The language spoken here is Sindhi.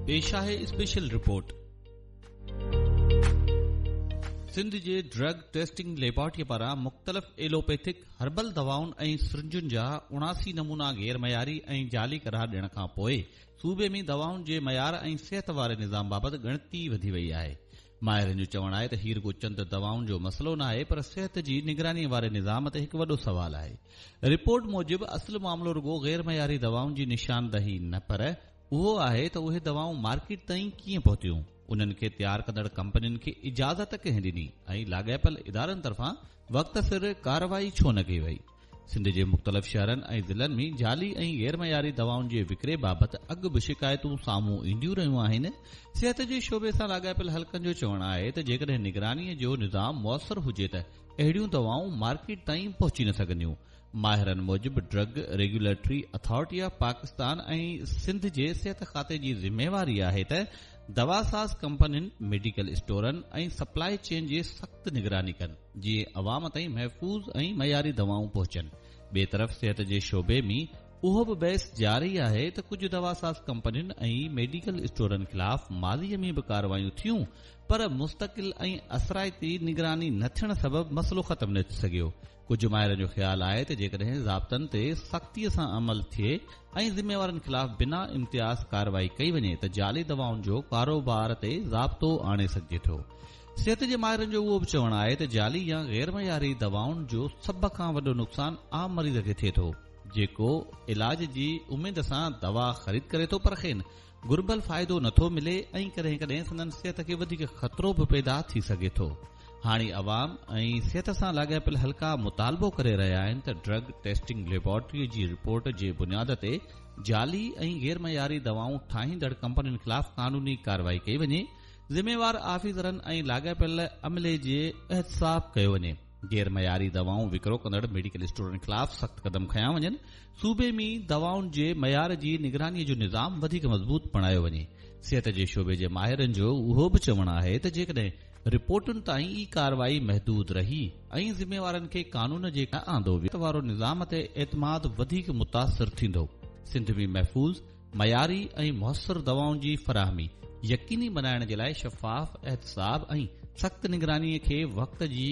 پيش آهي اسپيشل رپورٽ. سنڌ جي ڊرگ ٽيسٽنگ ليبارٽري پاران مختلف ايلوپيٿڪ هربل دوائن ۽ سرنجن جا 79 نمونا غير معياري ۽ جعلي قرار ڏيڻ کان پوء صوبي ۾ دوائن جي معيار ۽ صحت واري نظام بابت ڳڻتي وڌي وئي آهي. ماهرن جو چوڻ آهي ته هي رڳو چند دوائن جو مسئلو ناهي پر صحت جي نگراني واري نظام تي هڪ وڏو سوال آهي. رپورٽ موجب اصل معاملو رڳو غير معياري دوائن جي نشاندهي نه پر اهو آهي ته اهي دوائون مارڪيٽ تائين ڪيئن پهتيون، انهن کي تيار ڪندڙ ڪمپنين کي اجازت ڪنهن ڏني ۽ لاڳاپيل ادارن طرفان وقت سر ڪارروائي ڇو نه ڪئي وئي. سنڌ جي مختلف شهرن ۽ ضلعن ۾ جعلي ۽ غيرمعياري دوائن جي وڪري بابت اڳ به شڪايتون سامهون اينديون رهيون آهن. صحت جي شعبي سان لاڳاپيل حلقن جو چوڻ آهي ته جيڪڏهن نگراني جو نظام موثر هجي ته اهڙيون دوائون مارڪيٽ تائين پهچي نه سگهنديون. ماهرن موجب drug regulatory authority of Pakistan ۽ Sindh جي صحت کاتي جي ذميواري آهي ته دواساز ڪمپنين، ميڊيڪل اسٽورن ۽ سپلائي چين جي سخت نگراني ڪن، جيئن عوام تائين محفوظ ۽ معياري دوائون پهچن. ٻئي طرف صحت جي شعبي ۾ اهو به بحث جاري آهي ته ڪجهه دواساز ڪمپنين ۽ ميڊيڪل اسٽورن خلاف ماضي ۾ به ڪارروايون ٿيون پر مستقل ۽ اثرائتي نگراني نه ٿيڻ سبب مسئلو ختم نه ٿي سگهيو. ڪجهه ماهرن جو خيال آهي ته جيڪڏهن ضابطن تي سختيء سان عمل ٿئي ۽ ذميوارن خلاف بنا امتياز ڪارروائي ڪئي وڃي ته جعلي دوائن جو ڪاروبار تي ضابطو آڻي سگهجي ٿو. صحت جي ماهرن جو اهو به چوڻ آهي ته جعلي يا غيرمعياري دوائن جو سڀ کان وڏو نقصان عام مريض کي ٿئي ٿو، جيڪو علاج جي اميد سان دوا خريد ڪري ٿو پر کين گهربل فائدو نٿو ملي ۽ ڪڏهن ڪڏهن سندن صحت کي وڌيڪ خطرو به پيدا ٿي سگهي ٿو. هاڻي عوام ۽ صحت سان لاڳاپيل حلقا مطالبو ڪري رهيا آهن ته ڊرگ ٽيسٽنگ ليبارٽري جي رپورٽ جي بنياد تي جعلي ۽ غيرمعياري دوائون ٺاهيندڙ ڪمپنين خلاف قانوني ڪارروائي ڪئي وڃي، ذميوار آفيسرن ۽ لاڳاپيل عملي جي احتساب ڪيو وڃي. غير معياري دوائون وڪرو ڪندڙ ميڊيڪل اسٽورن خلاف سخت قدم کنيا وڃن، صوبي ۾ دوائن جي معيار جي نگراني جو نظام وڌيڪ مضبوط بڻايو وڃي. صحت جي شعبي جي ماهرن جو اهو به چوڻ آهي ته جيڪڏهن رپورٽن تائين ئي ڪارروائي محدود رهي ۽ ذميوارن کي قانون جي نه آندو ويو وارو نظام تي اعتماد وڌيڪ متاثر ٿيندو. سنڌ ۾ محفوظ، معياري ۽ موثر دوائن جي فراهمي يقيني بنائڻ جي لاء شفاف احتساب ۽ سخت نگراني کي وقت جي.